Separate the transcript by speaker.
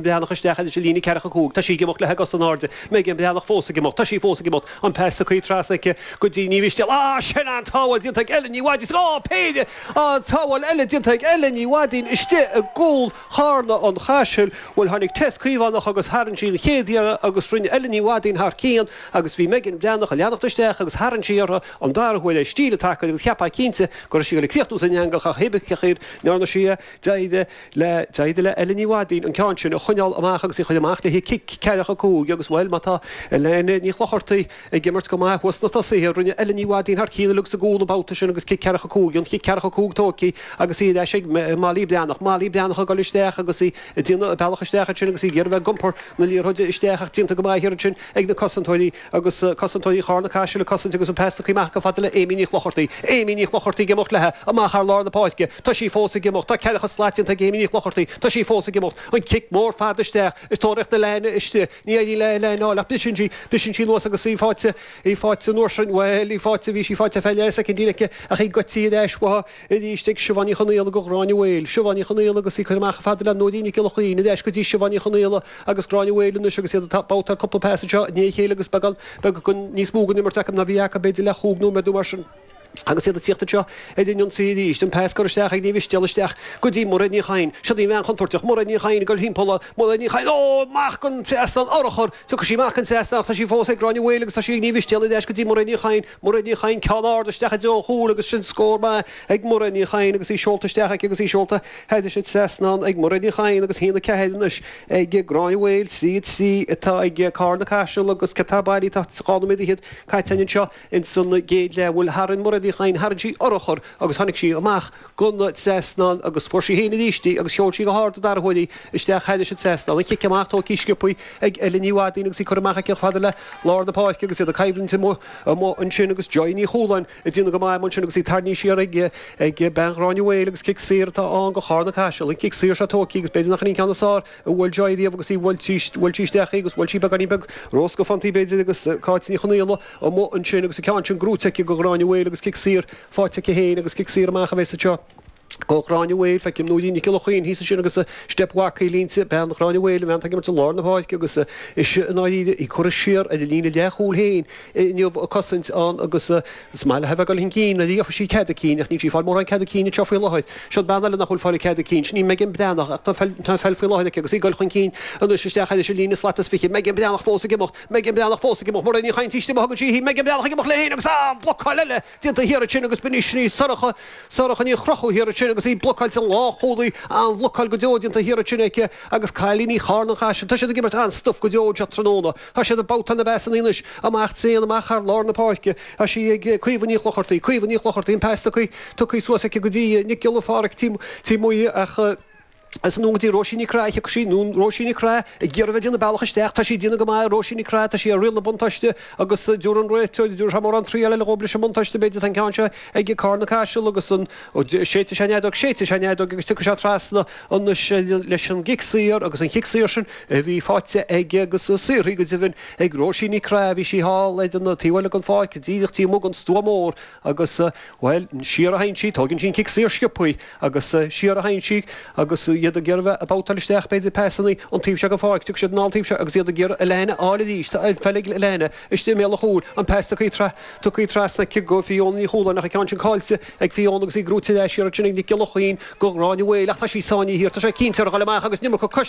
Speaker 1: Breathnach isteach thairis an líne ceathracha 5. Tá sí ag imeacht léi a cosa in airde. Megan Breathnach fós ag imeacht. Tá sí fós ag imeacht. An pas tugtha trasna aici go dtí Ní Mhistéala. Ah! Sin an-tsábháil déanta ag Ellen Ní Mhaidín. Á! Péire! An-tsábháil eile déanta ag Ellen Ní Mhaidín istigh i gcúl Charna an Chaisil. Bhuel, tháinig Tess Caomhánach agus tharraing sí an chéad iarraidh agus rinne Ellen Ní Mhaidín thar cionn agus bhí Megan Breathnach ag leanacht isteach agus tharraing sí uirthi an dara huair é stíl an tacail agus cheapfá cinnte go raibh sí ag dul ag críochnú san eangach ach hé bith cén chaoi ndearna sí é. D'éirigh le, d'éirigh le Ellen Ní Mhaidín an ceann sin a choinneáil amach agus í a chur amach le haghaidh cic ceathracha 5 agus, bhuel, má tá Elaine Ní Chlochartaigh ag imirt go maith thuas sna tosaithe, rinne Ellen Ní Mhaidín thar cionn uilig sa gcúl an babhta sin agus cic ceathracha 5, an chic ceathracha 5 tógtha agus í ar ais ag Molly Breathnach. Molly Breathnach ag dul isteach agus í ag déanamh a bealach isteach ansin agus í ag iarraidh a bheith ag iompar na liathróide isteach ach déanta go maith thiar ansin ag na cosantóirí. Agus cosantóirí Charna Caisil ag cosaint agus an pas tugtha amach chomh fada le Amy Ní Chlochartaigh. Amy Ní Chlochartaigh ag imeacht léi amach thar lár na páirce. Tá sí fós ag imeacht. Tá ceathracha slat déanta ag Amy Ní Chlochartaigh. Tá sí fós ag imeacht. An cic mór fada isteach. Ag tóraíocht Elaine istigh. Ní éiríonn le Elaine a fháil ach briseann sí. Briseann sí anuas agus í faighte. Í faighte an uair sin. Bhuel, í faighte. Bhí sí faighte ar feadh leath soicindín aici ach í goidte ar ais uaithi. Arís ag Siobhán Ní Chonaola go Gráinne Mhaol. Siobhán Ní Chonaola agus í curtha amach chomh fada le Nóirín Nic Giolla Chaoin. Ar ais go dtí Siobhán Ní Chonaola agus Gráinne Mhaol anois agus iad ag babhtáil cúpla pas anseo i ndiaidh a chéile agus beagán beag níos mó den imirt acu ná bhí acu b'fhéidir le chúig nóiméad nó mar sin. Agus iad ag tíocht anseo ar an ionsaí arís. An pas curtha isteach ag Ní Mhistéala isteach go dtí Mairéad Ní Chadhain. Siod í an bhean chontúirteach, Mairéad Ní Chadhain ag dul thimpeall. Mairéad Ní Chadhain, ó! Amach den trasnán, urchar! Tiocfaidh sí amach den trasnán ach tá sí fós ag Gráinne Mhaol agus tá sí ag Ní Mhistéala ar ais go dtí Mairéad Ní Chadhain. Mairéad Ní Chadhain, ceann ard isteach i dtreo an chúil agus sin scór maith ag Mairéad Ní Chadhain agus í seolta isteach aici agus í seolta thairis an trasnán ag Mairéad Ní Chadhain agus 1-4 anois ag Gráinne Mhaol, 3-3 atá ag Carna Caiseal agus cé atá bailí tá 2 nóiméad fhichead caite againn anseo ins an gcéad leath. Bhuel tharraing Mairéad Ní Chadhain, tharraing sí urchar agus tháinig sí amach den trasnán agus fuair sí féin arís í agus sheol sí go hard an dara huair í isteach thairis an trasnán. An chic amach tógtha sciobtha ag Ellen Ní Mhadaoin agus í curtha amach aici chomh fada le lár na páirce agus iad ag coimhlint amuigh amuigh ansin agus Joy Ní Chualáin ag déanamh go maith amuigh ansin agus í tarraingthe siar ag ag bean Ghráinne Mhaol agus cic saor atá ann go Charna Caiseal. An cic saor seo tógtha agus b'fhéidir nach in í an ceann is fearr a bhuail Joy riamh agus í bhuail sí bhuail sí isteach í agus bhuail sí beagáinín beag róscafántaí b'fhéidir agus Cáit Ní Chonaola amuigh ansin agus an ceann sin gnóite aici go Ghráinne Mhaol agus cic saor faighte aici féin agus cic saor amach a bheas anseo go Gráinne Mhaol. Feicim Nóirín Nic Giolla Chaoin thíos ansin agus Steip Mhac línte, bean Ghráinne Mhaol, an bhean atá ag imirt i lár na páirce agus ise i ndáiríre í curtha siar ar an líne leathchúil féin inniu ag cosaint ann agus is maith léi a bheith ag dul chun cinn nuair a gheobhaidh sí cead a cinn ach níl sí ag fáil mórán cead a cinn anseo faoi láthair. Siod bean eile nach bhfuil fáil cead a cinn, sin í Megan Breathnach ach tá an pheil faoi láthair aici agus í ag dul chun cinn anois isteach thairis an líne slat is 20. Megan Breathnach fós ag imeacht. Megan Breathnach fós ag imeacht. Mairéad Ní Chadhain istigh má thugann sí í. Megan Breathnach ag imeacht léi féin agus ah! Blocáil eile déanta thiar ansin agus b'in í sin í Sorcha, Sorcha Ní Chonchúir thiar ansin agus í blocáilte an lánchúlaí, an-bhlocáil go deo déanta thiar ansin aici agus cailíní Charna an Chaisil, tá siad ag imirt an-stuif go deo anseo tráthnóna. Tá siad ag babhtáil na bpasanna anois amach tréan amach thar lár na páirce. Tá sí ag Caoimhe Ní Chlochartaigh, Caoimhe Ní Chlochartaigh, an pas tugtha, tugtha suas aici go dtí Nic Giolla Pháraic Tí, Tí Muighe ach, Is anonn go dtí Róisín Ní Craith, thiocfadh sí, nó Róisín Ní Craith, ag iarraidh a bheith ag déanamh bealach isteach. Tá sí ag déanamh go maith, Róisín Ní Craith, tá sí ar riail na buntáiste agus dúirt an réiteoir, dúirt sé mórán triail eile dhóibh leis an mbuntáiste, b'fhéidir, tá an ceann seo ag Carna Caiseal agus an, séidfidh sé an fheadóg, séidfidh sé an fheadóg agus tiocfaidh sé trasna anois leis an gcic saor agus an chic saor sin a bhí faighte ag agus saothraithe go deimhin ag Róisín Ní Craith, bhí sí thall ar an taobh eile den pháirc, díreach taobh amuigh den stua mór agus, bhuel, siar a théann sí, tóigeann sí an cic saor sciobtha. Agus siar a théann sí agus iad ag iarraidh bheith ag babhtáil isteach b'fhéidir pasanna an taobh seo den pháirc. Tiocfaidh siad anall an taobh seo agus iad ag iarraidh Alana a fháil arís. Tá an pheil ag Alana istigh i mbéal an chúil. An pas tugtha tugtha trasna aici go Fiona Ní Chualáin ach an ceann sin caillte ag Fiona agus í gnóite ar ais iarraidh sin ag Nic Giolla Chaoin go Gráinne Mhaol ach tá sí sáinnithe thiar. Tá sé cinnte ar a dhul amach agus an iomarca coisc.